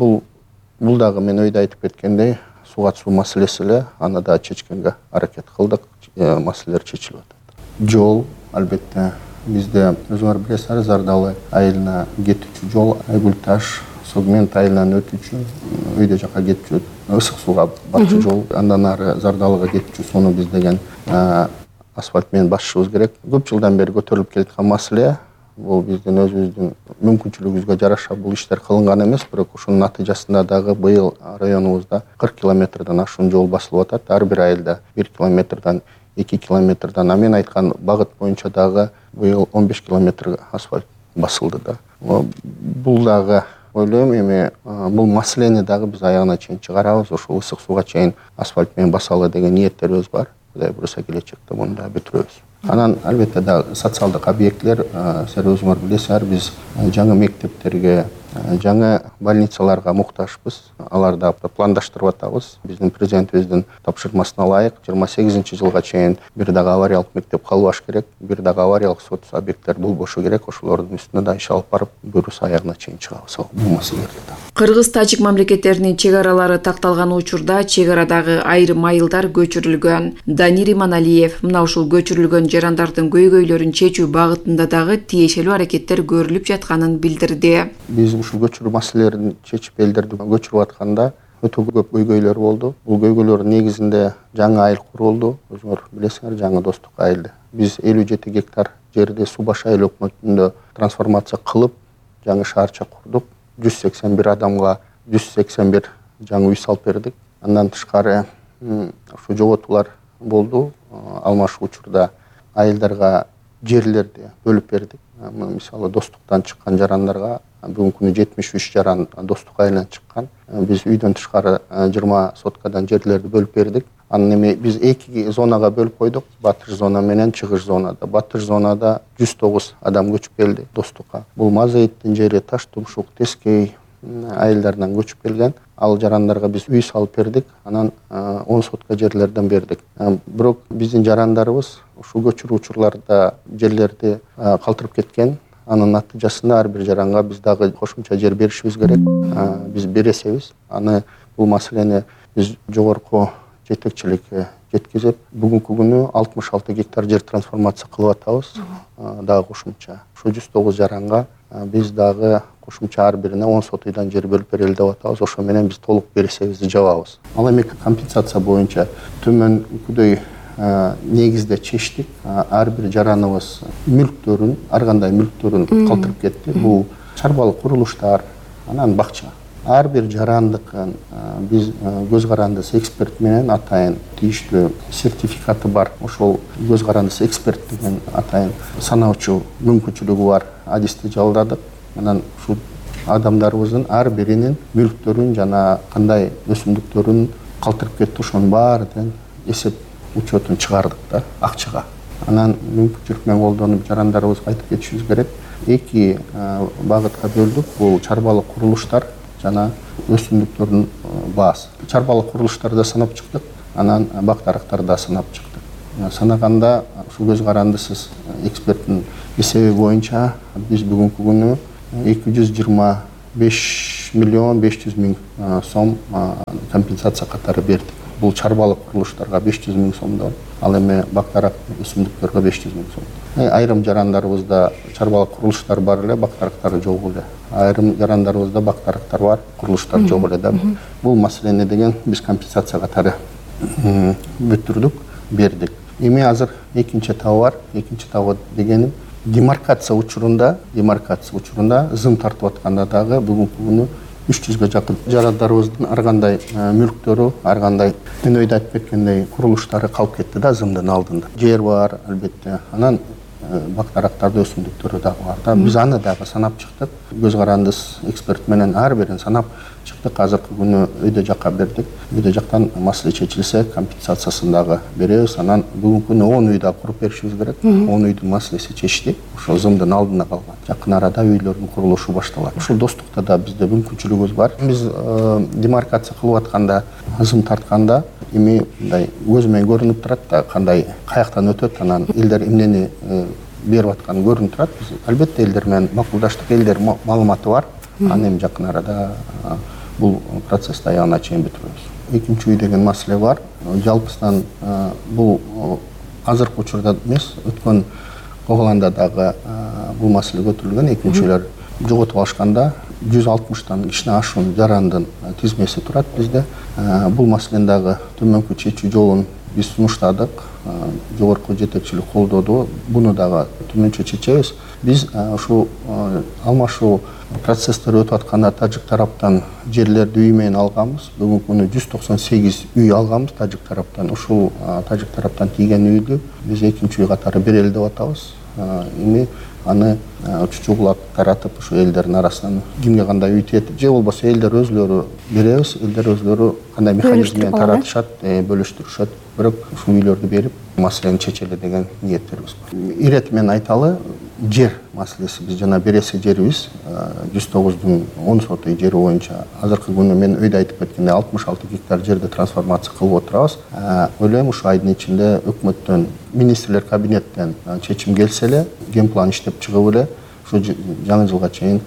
бул дагы мен өйдө айтып кеткендей суу катышуу маселеси эле, аны да чечкенге аракет кылдык. Маселелер чечилип атат. Жол, албетте, бизде өзүңөр билесиздер, Зардалы айылына кетүүчү жол, Айгүл-Таш, Согмент айылынан өтүүчү, өйдө жака кетүүчү, ысык сууга барчу жол, андан ары Зардалыга кетүүчү сууну биз деген асфальт менен басышыбыз керек. Көп жылдан бери көтөрүлүп келаткан маселе. Бул биздин өзүбүздүн мүмкүнчүлүгүбүзгө жараша бул иштер кылынган эмес, бирок ушунун натыйжасында дагы быйыл районубузда 40 километрден ашуун жол басылып атат. Ар бир айылда 1 километрден 2 километрден, а мен айткан багыт боюнча дагы быйыл 15 километр асфальт басылды да. Бул дагы ойлойм, эми бул маселени дагы биз аягына чейин чыгарабыз, ошол ысык сууга чейин асфальт менен басалы деген ниеттерибиз бар. Кудай буюрса келечекте муну да бүтүрөбүз. Анан албетте дагы социалдык объекттер, силер өзүңөр билесиздер, биз жаңы мектептерге, жаңы больницаларга муктажбыз. Аларды пландаштырып атабыз. Биздин президентибиздин тапшырмасына ылайык 28-жылга чейин бир дагы авариялык мектеп калбаш керек, бир дагы авариялык социалдык объекттер болбошу керек. Ошолордун үстүнө да иш алып барып, буюрса аягына чейин чыгабыз бул маселелерди да. Кыргыз-тажик мамлекеттеринин чек аралары такталган учурда чек арадагы айрым айылдар көчүрүлгөн. Данир Иманалиев мына ушул көчүрүлгөн жарандардын көйгөйлөрүн чечүү багытында дагы тиешелүү аракеттер көрүлүп жатканын билдирди. Биз ушул көчүрүү маселелерин чечип элдерди көчүрүп атканда өтө көп көйгөйлөр болду. Бул көйгөйлөрдүн негизинде жаңы айыл курулду. Өзүңөр билесиңер, жаңы Достук айылды. Биз 57 гектар жерди Суу баш айыл өкмөтүндө трансформация кылып, жаңы шаарча курдук. 181 адамга 181 жаңы үй салып бердик. Андан тышкары ушу жоготуулар болду. Алмашуу учурда айылдарга жерлерди бөлүп бердик. Мисалы Достуктан чыккан жарандарга бүгүнкү күнү 73 жаран Достук айылынан чыккан. Биз үйдөн тышкары 20 соткадан жерлерди бөлүп бердик. Анан эми биз 2 зонага бөлүп койдук. Батыш зона менен чыгыш зонада. Батыш зонада 109 адам көчүп келди Достукка. Бул Мазаиттин жери, Таш Тумшук, Тескей айылдарынан көчүп келген. Ал жарандарга биз үй салып бердик. Анан 10 сотка жерлерден бердик. Бирок биздин жарандарыбыз ушул көчүрүү учурларда жерлерди калтырып кеткен. Анын натыйжасында ар бир жаранга биз дагы кошумча жер беришибиз керек. Биз бересебиз. Аны бул маселени биз жогорку жетекчиликке жеткизип, бүгүнкү күнү 66 гектар жер трансформация кылып атабыз. Дагы кошумча. Ошо 109 жаранга биз дагы кошумча ар бирине 10 сот үйдөн жер бөлүп берели деп атабыз. Ошо менен биз толук бересебизди жабабыз. Ал эми компенсация боюнча төмөнкүдөй негизде чечтик. Ар бир жараныбыз мүлктөрүн, ар кандай мүлктөрүн калтырып кетти. Бул чарбалык курулуштар, анан бакча. ар бир жарандыкын биз көз карандысы эксперт менен атайын тийиштүү сертификаты бар. Ошол көз карандысы эксперт деген атайын санаучу мүмкүнчүлүгү бар адисти жалдадык. Анан ушул адамдарыбыздын ар биринин мүлктөрүн жана кандай өсүмдүктөрүн калтырып кетти ошонун баардыгын эсеп учетун чыгардык да акчага. Анан мүмкүнчүлүк менен колдонуп жарандарыбызга айтып кетишибиз керек. Эки багытка бөлдүк. Бул чарбалык курулуштар жана өсүмдүктөрдүн баасы. Чарбалык курулуштарды санап чыктык, анан бак-дарактарды да санап чыктык. Санаганда ушул көз карандысыз эксперттин эсеби боюнча биз бүгүнкү күнү 225 миллион 500 миң сом компенсация катары бердик. Бул чарбалык курулуштарга 500 миң сомдон, ал эми бак-дарак өсүмдүктөргө 500 миң сом. Айрым жарандарыбызда чарбалык курулуштар бар эле, бак-дарактар жок эле. Айрым жарандарыбызда бак-дарактар бар, курулуштар жок эле да. Бул маселени деген биз компенсация катары бүтүрдүк, бердик. Эми азыр экинчи этабы бар. Экинчи этабы дегеним демаркация учурунда зым тартып атканда дагы бүгүнкү күнү 300га жакын жарандарыбыздын ар кандай мүлктөрү, ар кандай өнөйдө айтып кеткендей курулуштары калып кетти да зымдын алдында. Жер бар албетте. Анан бак-дарактарды өсүмдүктөрү дагы бар да. Биз аны дагы санап чыктык. Көз карандыс эксперт менен ар бирин санап чыктык. Азыркы күнү өйдө жакка бердик. Өйдө жактан маселе чечилсе компенсациясын дагы беребиз. Анан бүгүнкү күнү 10 үй дагы куруп беришибиз керек. 10 үйдүн маселеси чечти. Ошол зымдын алдына калган. Жакын арада үйлөрдүн курулушу башталат. Ушул достукта да бизде мүмкүнчүлүгүбүз бар. Биз демаркация кылып атканда, зым тартканда эми мындай көз менен көрүнүп турат да, кандай каяктан өтөт, анан элдер эмнени берип атканы көрүнүп турат. Биз албетте элдер менен макулдаштык, элдер маалыматы бар. Аны эми жакын арада бул процессти аягына чейин бүтүрөбүз. Экинчи үй деген маселе бар. Жалпысынан бул азыркы учурда эмес, өткөн Коголанда дагы бул маселе көтөрүлгөн. Экинчи үйлөр жоготуп алышканда 160тан кичине ашуун жарандын тизмеси турат бизде. Бул маселени дагы төмөнкү чечүү жолун биз сунуштадык. Жогорку жетекчилик колдоду. Буну дагы төмөнчө чечебиз. Биз ушул алмашуу процесстер өтүп атканда тажик тараптан жерлерди үй менен алганбыз. Бүгүнкү күнү 198 үй алганбыз тажик тараптан. Ушул тажик тараптан тийген үйдү биз экинчи үй катары берели деп атабыз. Эми аны чучугулап таратып ушу элдердин арасынан кимге кандай үй тиет же болбосо элдер өзүлөрү беребиз, элдер өзүлөрү кандай механизм менен таратышат, бөлүштүрүшөт. Бирок ушул үйлөрдү берип маселени чечели деген ниеттерибиз бар. Ирети менен айталы, жер маселеси биз жана бересе жерибиз 109дун 10 соту жери боюнча азыркы күнү мен өйдө айтып кеткендей 66 гектар жерди трансформация кылып отурабыз. Ойлойм ушу айдын ичинде өкмөттөн, министрлер кабинеттен чечим келсе эле, генплан иштеп чыгып эле ушу жаңы жылга чейин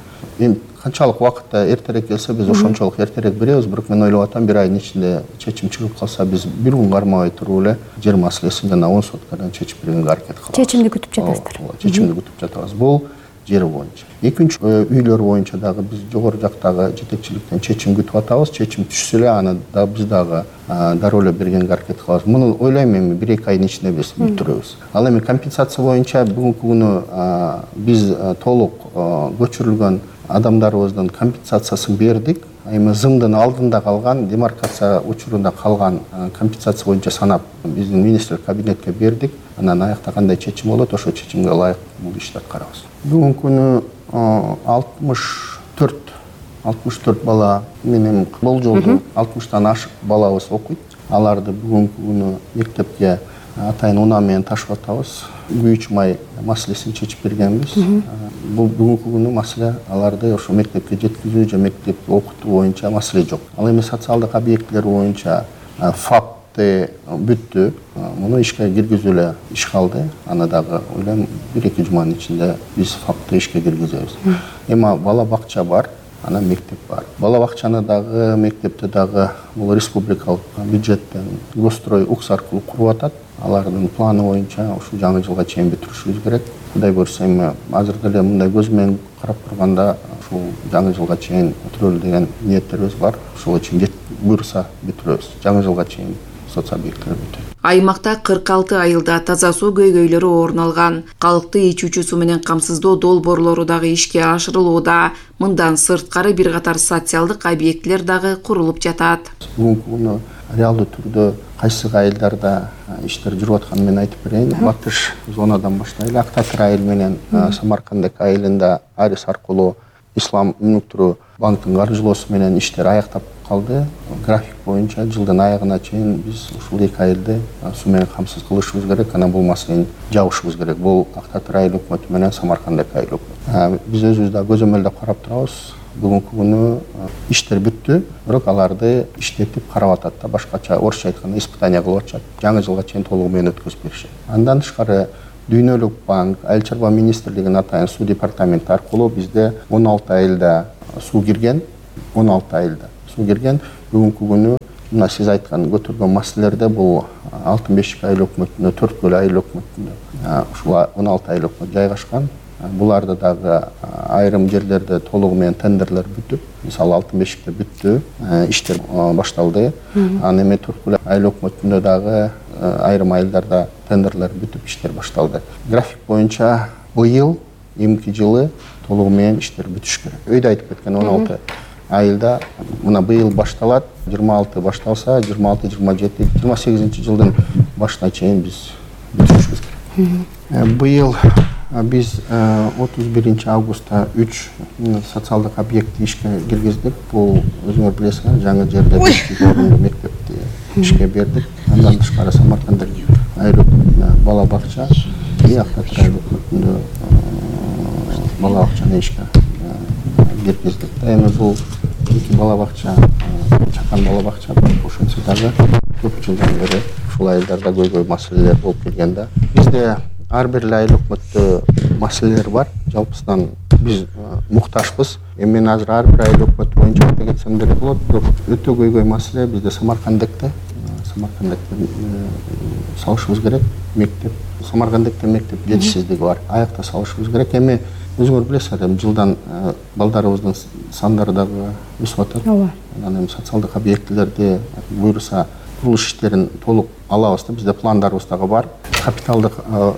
канчалык убакытта эртерээк келсе биз ошончолук эртерээк беребиз. Бирок мен ойлоп атам, бир айдын ичинде чечим чыгып калса биз бир күн кармабай туруп эле жер маселесин жана 10 соткадан чечип бергенге аракет кылабыз. Чечимди күтүп жатасыздар. Чечимди күтүп жатабыз. Бул жер боюнча. Экинчи үйлөр боюнча дагы биз жогору жактагы жетекчиликтен чечим күтүп атабыз. Чечим түшсө эле аны да биз дагы дароо эле бергенге аракет кылабыз. Муну ойлойм эми 1-2 айдын ичинде биз бүтүрөбүз. Ал эми компенсация боюнча бүгүнкү күнү биз толук көчүрүлгөн адамдарыбыздын компенсациясын бердик. Эми зымдын алдында калган, демаркация учурунда калган компенсация боюнча санап биздин министрлик кабинетке бердик. Анан аякта кандай чечим болот, ошол чечимге ылайык бул ишти аткарабыз. Бүгүнкү күнү 64 бала менен болжолду 60тан ашык балабыз окуйт. Аларды бүгүнкү күнү мектепке атайын унаа менен ташып атабыз. Күйүүчү май маселесин чечип бергенбиз. Бул бүгүнкү күнү маселе аларды ошо мектепке жеткизүү же мектепти окутуу боюнча маселе жок. Ал эми социалдык объектилер боюнча ФАПты бүттү. Муну ишке киргизүү эле иш калды. Аны дагы ойлойм 1-2 жуманын ичинде биз ФАПты ишке киргизебиз. Эми бала бакча бар, анан мектеп бар. Бала бакчаны дагы, мектепти дагы бул республикалык бюджеттен Госстрой УКС аркылуу куруп атат. Алардын планы боюнча ушу жаңы жылга чейин бүтүрүшүбүз керек. Кудай буйрса эми азыр деле мындай көз менен карап турганда ушул жаңы жылга чейин бүтүрөлү деген ниеттерибиз бар. Ошол үчүн буйрса бүтүрөбүз. Жаңы жылга чейин соц объекттер бүтөт. Аймакта 46 айылда таза суу көйгөйлөрү орун алган. Калкты ичүүчү суу менен камсыздоо долбоорлору дагы ишке ашырылууда. Мындан сырткары бир катар социалдык объектилер дагы курулуп жатат. Бүгүнкү күнү реалдуу түрдө кайсы айылдарда иштер жүрүп атканын мен айтып берейин. Батыш зонадан баштайлы. Актатыр айыл менен Самаркандек айылында Арис аркылуу Ислам өнүктүрүү банктын каржылоосу менен иштер аяктап калды. График боюнча жылдын аягына чейин биз ушул эки айылды суу менен камсыз кылышыбыз керек, анан бул маселени жабышыбыз керек. Бул Актатыр айыл өкмөтү менен Самаркандек айыл өкмөтү. Биз өзүбүз да көзөмөлдөп карап турабыз. Бүгүнкү күнү иштер бүттү, бирок аларды иштетип карап атат да, башкача орусча айтканда испытание кылып атышат. Жаңы жылга чейин толугу менен өткөзүп беришет. Андан тышкары Дүйнөлүк банк, Айыл чарба министрлигинин атайын суу департаменти аркылуу бизде 16 айылда суу кирген, 16 айылда суу кирген. Бүгүнкү күнү мына сиз айткан көтөргөн маселелерде бул Алтын бешик айыл өкмөтүндө, Төрткөл айыл өкмөтүндө ушул 16 айыл өкмөт жайгашкан. Буларда дагы айрым жерлерде толугу менен тендерлер бүтүп, мисалы Алтын бешикте бүттү, иштер башталды. Анан эми Төрткөл айыл өкмөтүндө дагы айрым айылдарда тендерлер бүтүп, иштер башталды. График боюнча быйыл, эмки жылы толугу менен иштер бүтүш керек. Өйдө айтып кеткен 16 айылда мына быйыл башталат, 26 башталса, 26, 27, 28 жылдын башына чейин биз бүтүрүшүбүз керек. Быйыл биз 31 августта 3 социалдык объектти ишке киргиздик. Бул өзүңөр билесиңер, жаңы жерде 500 орунду мектепти ишке бердик. Андан тышкары Самаркандек айыл өкмөтүндө бала бакча, Актатыр айыл өкмөтүндө бала бакчаны ишке киргиздик. Эми бул эки бала бакча, чакан бала бакча, ошентсе дагы көп жылдан бери ушул айылдарда көйгөй маселелер болуп келген да. Бизде ар бир айыл өкмөттө маселелер бар. Жалпысынан биз мукташпыз. Эми мен азыр ар бир айыл өкмөтү боюнча айта кетсем деле болот. Бирок өтө көйгөй маселе бизде Самаркандекте салышыбыз керек мектеп. Самаркандекте мектеп жетишсиздиги бар. Аякта салышыбыз керек. Эми өзүңөр билесиңер, жылдан балдарыбыздын сандары дагы өсүп атат. Анан эми социалдык объектилерди буюрса курулуш иштерин толук алабыз да. Бизде пландарыбыз дагы бар. Капиталдык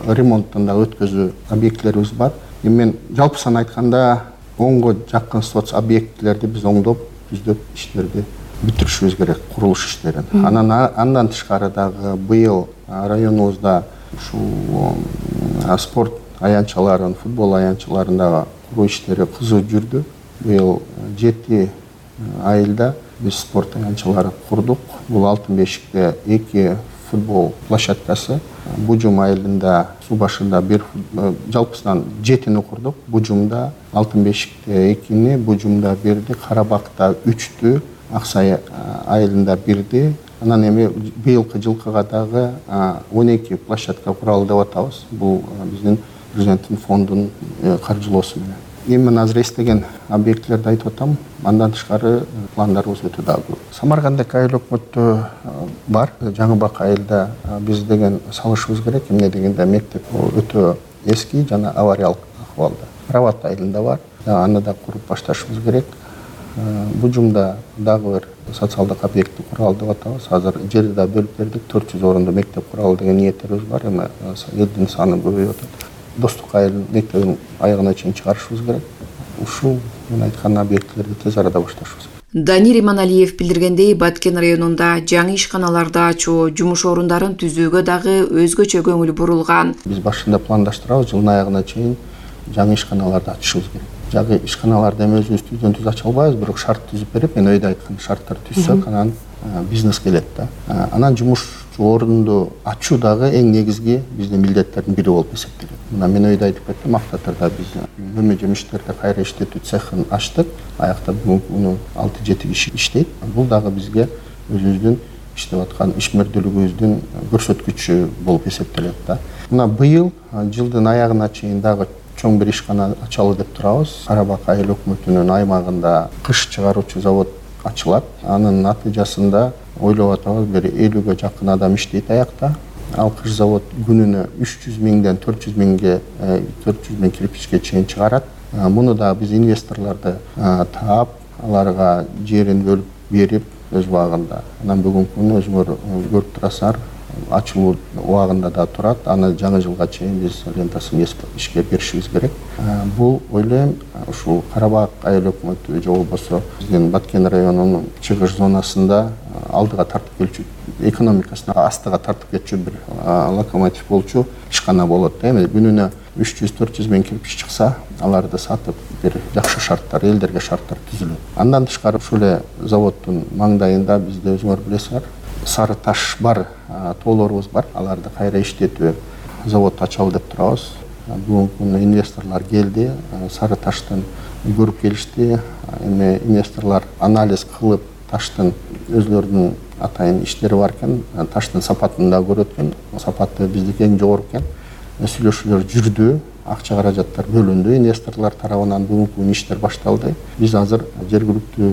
ремонттон да өткөзүү объектилерибиз бар. Эми мен жалпысан айтканда 10го жакын соц объектилерди биз оңдоп, түздөп иштерди бүтүрүшүбүз керек, курулуш иштерин. Андан тышкары дагы быйыл районубузда ушул спорт аянтчаларын, футбол аянтчаларындагы куруу иштери кызуу жүрдү. Быйыл 7 айылда биз спорт аянтчалары курдук. Бул Алтын бешикте 2 футбол площадкасы, Бужум айылында суу башында бир жалпысынан 7-ни курдук. Бужумда Алтын бешикте 2-ни, Бужумда 1-ди, Карабакта 3-тү, Аксай айылында 1-ди. Анан эми быйылкы жылкыга дагы 12 площадка куралы деп атабыз. Бул биздин президенттин фондунун каржылоосу менен. Эми мен азыр эстеген объектилерди айтып атам. Андан тышкары пландарыбыз өтө дагы көп. Самаркандек айыл өкмөттө бар. Жаңыбак айылда биз деген салышыбыз керек. Эмне дегенде мектеп өтө эски жана авариялык акыбалда. Рават айылында бар. Аны да куруп башташыбыз керек. Бужумда дагы бир социалдык объекти куралы деп атабыз. Азыр жерди да бөлүп бердик. 400 орунду мектеп куралы деген ниеттерибиз бар. Эми элдин саны көбөйүп атат. Достук айыл мектебин аягына чейин чыгарышыбыз керек. Ушул мен айткан объектилерди тез арада башташыбыз керек. Данир Иманалиев билдиргендей, Баткен районунда жаңы ишканаларды ачуу, жумуш орундарын түзүүгө дагы өзгөчө көңүл бурулган. Биз башында пландаштырабыз, жылдын аягына чейин жаңы ишканаларды ачышыбыз керек. Жаңы ишканаларды эми өзүбүз түздөн түз ача албайбыз, бирок шарт түзүп берип, мен өйдө айткан шарттар түзсөк, анан бизнес келет да. Анан жумуш орунду ачуу дагы эң негизги биздин милдеттердин бири болуп эсептелет. Мына мен өйдө айтып кеттим, Актатырда биз көмү жемиштерди кайра иштетүү цехин ачтык. Аякта бүгүнкү 6-7 киши иштейт. Бул дагы бизге өзүбүздүн иштеп аткан ишмердүүлүгүбүздүн көрсөткүчү болуп эсептелет да. Мына быйыл жылдын аягына чейин дагы чоң бир ишкана ачалы деп турабыз. Карабак айыл өкмөтүнүн аймагында кыш чыгаруучу завод ачылат. Анын натыйжасында ойлоп атабыз, бир 50-ге жакын адам иштейт аякта. Ал кыш завод күнүнө 300 миңден 400 миң кирпичке чейин чыгарат. Муну да биз инвесторлорду таап, аларга жерин бөлүп берип өз убагында. Анан бүгүнкү күнү өзүңөр көрүп турасыңар, ачылуу убагында да турат. Аны жаңы жылга чейин биз лентасын ишке киришибиз керек. Бул ойлойм ушул Карабак айыл өкмөтү же болбосо биздин Баткен районунун чыгыш зонасында алдыга тартып келчү, экономикасына астыга тартып кетчү бир локомотив болчу ишкана болот. Эми күнүнө 300-400 миң кирпич чыкса, аларды сатып бир жакшы шарттар, элдерге шарттар түзүлөт. Андан тышкары ушул заводдун маңдайында бизде өзүңөр билесиңер, сары таш бар, тоолорубуз бар. Аларды кайра иштетүү завод ачалы деп турабыз. Бүгүнкү күндө инвесторлор келди, сары таштын көрүп келишти. Эми инвесторлор анализ кылып, таштын өзлөрүнүн атайын иштери бар экен, таштын сапатын да көрөт экен. Сапаты биздики эң жогору экен. Сүйлөшүүлөр жүрдү, акча каражаттар бөлүндү, инвесторлор тарабынан бүгүнкү күнү иштер башталды. Биз азыр жергиликтүү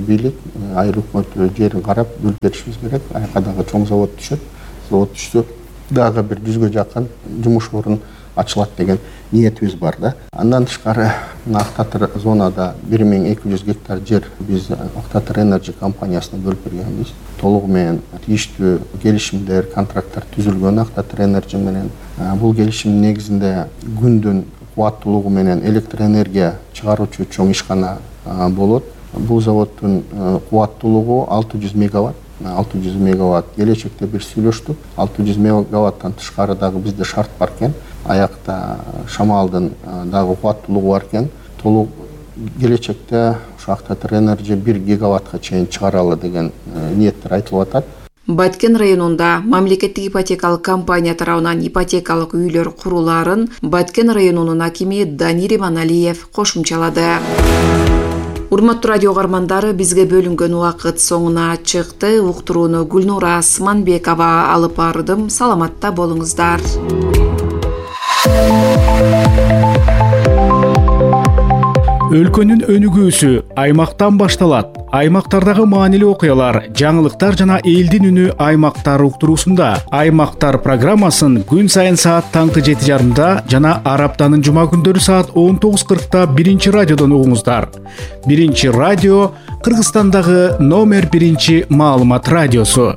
бийлик, айыл өкмөтү жерин карап бөлүп беришибиз керек. Аяка дагы чоң завод түшөт. Завод түшсө дагы бир 100гө жакын жумуш орун ачылат деген ниетибиз бар да. Андан тышкары Актатыр зонада 1200 гектар жер биз Актатыр Energy компаниясына бөлүп бергенбиз. Толугу менен тийиштүү келишимдер, контракттар түзүлгөн Актатыр Energy менен. Бул келишимдин негизинде күндүн кубаттуулугу менен электр энергия чыгаруучу чоң ишкана болот. Бул заводдун кубаттуулугу 600 мегаватт. 600 мегаватт келечекте бир сүйлөштүк. 600 мегаваттан тышкары дагы бизде шарт бар экен. Аякта шамалдын дагы кубаттуулугу бар экен. Толук келечекте ушу Актатыр Energy 1 гигаваттка чейин чыгаралы деген ниеттер айтылып атат. Баткен районунда мамлекеттик ипотекалык компания тарабынан ипотекалык үйлөр куруларын Баткен районунун акими Данир Иманалиев кошумчалады. Урматтуу радио угармандары, бизге бөлүнгөн убакыт соңуна чыкты. Уктурууну Гүлнура Асманбекова алып бардым. Саламатта болуңуздар. Өлкөнүн өнүгүүсү аймактан башталат. Аймактардагы маанилүү окуялар, жаңылыктар жана элдин үнү аймактар уктуруусунда. Аймактар программасын күн сайын саат таңкы 7:30 жана ар аптанын жума күндөрү саат 19:40 биринчи радиодон угуңуздар. Биринчи радио Кыргызстандагы номер 1 маалымат радиосу.